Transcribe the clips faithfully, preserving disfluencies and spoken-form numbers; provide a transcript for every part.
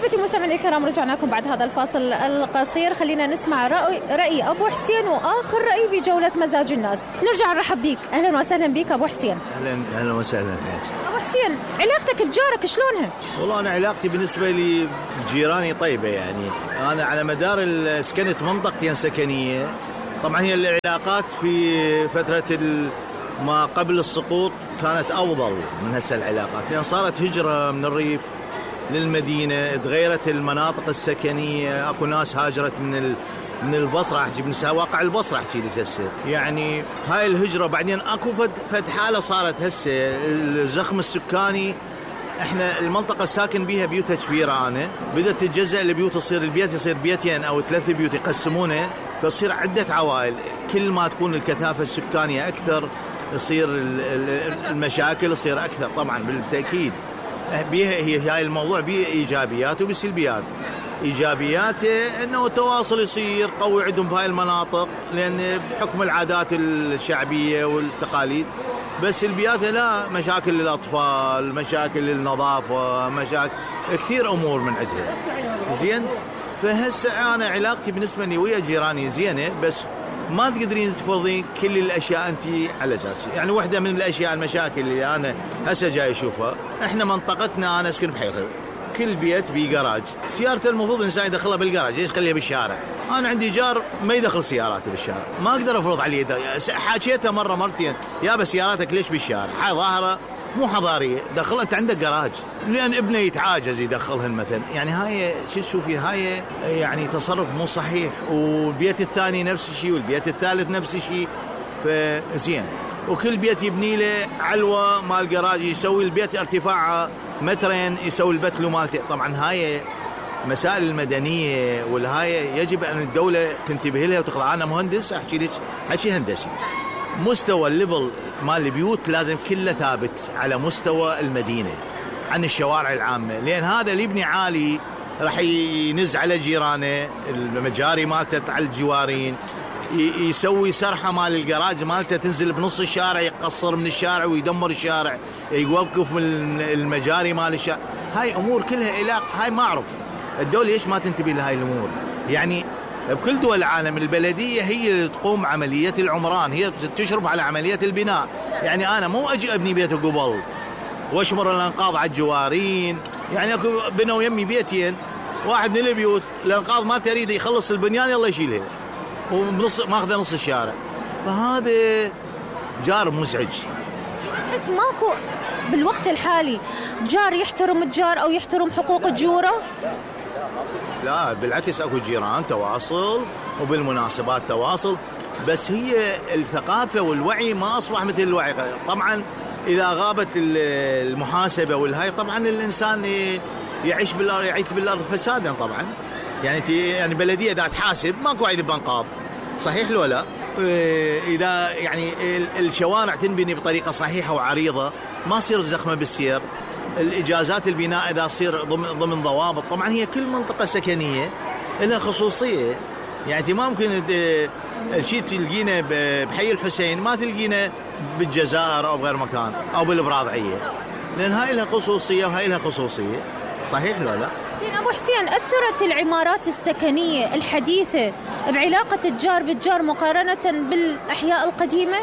احبتي مستمعينا الكرام، رجعنا لكم بعد هذا الفاصل القصير. خلينا نسمع رأي, رأي ابو حسين واخر رأي بجولة مزاج الناس. نرجع نرحب بيك. اهلا وسهلا بيك ابو حسين. اهلا اهلا وسهلا حياتي. ابو حسين، علاقتك بجارك شلونها؟ والله انا علاقتي بالنسبه لي بجيراني طيبه، يعني انا على مدار سكنت منطقتين سكنيه. طبعا هي العلاقات في فتره ما قبل السقوط كانت افضل من هسه العلاقات، لان صارت هجره من الريف للمدينه، تغيرت المناطق السكنيه، اكو ناس هاجرت من من البصره، احكي من واقع البصره احكي لك هسه، يعني هاي الهجره. بعدين اكو فد, فد حاله صارت هسه الزخم السكاني. احنا المنطقه الساكن بيها بيوت كبيره، انا بدات تتجزأ البيوت، تصير البيت يصير بيتين او ثلاث بيوت يقسمونه، فتصير عده عوائل. كل ما تكون الكثافه السكانيه اكثر يصير المشاكل يصير اكثر. طبعا بالتاكيد بيها هي هاي الموضوع بيه ايجابيات وبسلبيات. ايجابياته انه التواصل يصير قوي عندهم بهاي المناطق، لان بحكم العادات الشعبيه والتقاليد. بس سلبياته لا، مشاكل للاطفال، مشاكل للنظافه، مشاكل كثير امور من عندها. زين، فهسه انا علاقتي بالنسبه لي ويا جيراني زينه، بس ما تقدرين تفرضين كل الاشياء انت على جالسي. يعني واحده من الاشياء المشاكل اللي انا هسه جاي اشوفها، احنا منطقتنا انا اسكن بحيخل، كل بيت بيه جراج. سيارته المفروض الانسان يدخلها بالجراج، ليش يخليها بالشارع؟ انا عندي جار ما يدخل سياراته بالشارع، ما اقدر افرض عليه. حاكيته مره مرتين، يا بس سياراتك ليش بالشارع؟ هاي ظاهره مو حضاريه، دخلها انت عندك جراج، لان ابنه يتعاجز يدخلهن مثلا. يعني هاي شو تشوفي، هاي يعني تصرف مو صحيح. والبيت الثاني نفس الشيء، والبيت الثالث نفس الشيء. فزين، وكل بيت يبني له علوه مال جراج، يسوي البيت ارتفاعه مترين، يسوي البتلو مالته. طبعا هاي مسائل المدنيه والهاي يجب ان الدوله تنتبه لها وتخضع. انا مهندس احكي لك حكي هندسي، مستوى الليفل مال البيوت لازم كله ثابت على مستوى المدينه عن الشوارع العامه، لان هذا اللي يبني عالي راح ينز على جيرانه، المجاري مالته على الجوارين، يسوي سرحه مال الجراج مالته تنزل بنص الشارع، يقصر من الشارع ويدمر الشارع، يوقف من المجاري مال الشارع. هاي امور كلها علاقه، هاي ما اعرف الدوله ليش ما تنتبه لهاي الامور. يعني بكل دول العالم البلديه هي اللي تقوم عمليه العمران، هي تشرف على عمليه البناء. يعني انا مو اجي ابني بيت قبل واشمر الانقاض على الجوارين. يعني اكو بنوا يمي بيتين، واحد من البيوت الانقاض ما تريد يخلص البنيان يلا يشيلها وبنص ماخذه نص الشارع. فهذا جار مزعج. بس ماكو بالوقت الحالي جار يحترم الجار او يحترم حقوق الجوره؟ لا بالعكس، اكو جيران تواصل وبالمناسبات تواصل، بس هي الثقافه والوعي ما اصبح مثل الوعي. طبعا اذا غابت المحاسبه والهاي، طبعا الانسان يعيش بالارض، يعيش بالارض فسادا. طبعا يعني يعني بلديه اذا تحاسب ماكو عيد بنقاض، صحيح لو لا؟ اذا يعني الشوارع تنبني بطريقه صحيحه وعريضه، ما تصير زخمه بالسير. الاجازات البناء اذا تصير ضمن ضمن ضوابط. طبعا هي كل منطقه سكنيه لها خصوصيه، يعني انت ما ممكن الشيء تلقينه بحي الحسين ما تلقينه بالجزائر او بغير مكان او بالبراضعيه، لان هاي لها خصوصيه وهاي لها خصوصيه، صحيح لو لا؟ زين ابو حسين، اثرت العمارات السكنيه الحديثه بعلاقه الجار بالجار مقارنه بالاحياء القديمه؟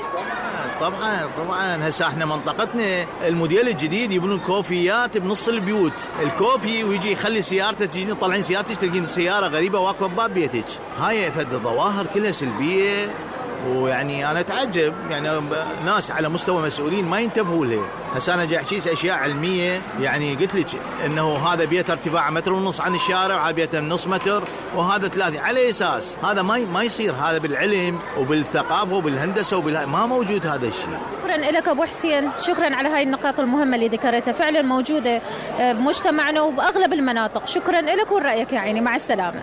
طبعا طبعا. هسه احنا منطقتنا الموديل الجديد يبنون كوفيات بنص البيوت، الكوفي ويجي يخلي سيارته تجي طالعين سيارتك تلقين سياره غريبه واقفه بباب بيتك. هاي فد الظواهر كلها سلبيه، ويعني انا اتعجب يعني ناس على مستوى مسؤولين ما ينتبهوا لها. هسه انا جاي احكي اشياء علميه، يعني قلت لك انه هذا بيت ارتفاع متر ونص عن الشارع، وهذا بيت نص متر، وهذا ثلاثه. على اساس هذا ما ما يصير، هذا بالعلم وبالثقافه وبالهندسه وبال ما موجود هذا الشيء. شكرا لك ابو حسين، شكرا على هاي النقاط المهمه اللي ذكرتها، فعلا موجوده بمجتمعنا وباغلب المناطق. شكرا لك ولرايك يا عيني، مع السلامه.